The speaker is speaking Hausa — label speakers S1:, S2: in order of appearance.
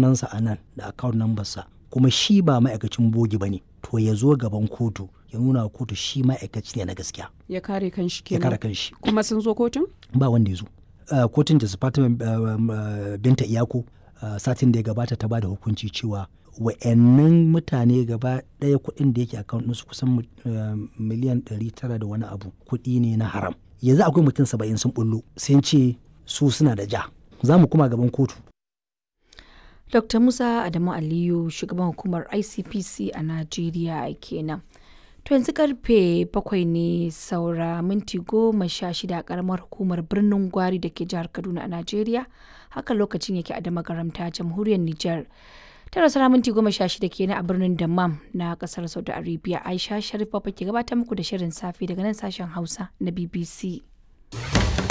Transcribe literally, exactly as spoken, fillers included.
S1: sunansa a nan da account number sa, kuma shi ba ma'aikacin bogi ba ne, to ya zo gaban kotu ya nuna wa kotu shi ma'aikaci ne na gaskiya.
S2: Ya kare kanshi
S1: Ya
S2: kenan.
S1: kare kanshi.
S2: Kuma sun zo kotun?
S1: Ba wanda ya zo. Uh, kotun da Fatima uh, uh, Binta Iyako uh, satin da ya gabata ta bada hukunci cewa wa'annan mutane gaba ɗaya kuɗin da yake account ɗinsu kusan uh, miliyan ɗari tara da wani abu kuɗi ne na haram. Yanzu akwai mutum saba'in sun bullo sun ce su suna da ja. Za mu kuma gaban kotu.
S3: Dokta Musa Adamu Aliyu, shugaban hukumar I C P C a Najeriya kenan. To yanzu karfe bakwai ne saura minti goma sha shida a karamar hukumar Birnin Gwari da ke jihar Kaduna a Najeriya. Haka lokacin yake a Damagaramta, jamhuriyar Nijar. Tara saura minti goma sha shida kenan a birnin Dammam na kasar Saudi Arabia. Aisha Sharif Baba ke gabatar muku da shirin safe daga nan sashen Hausa na B B C.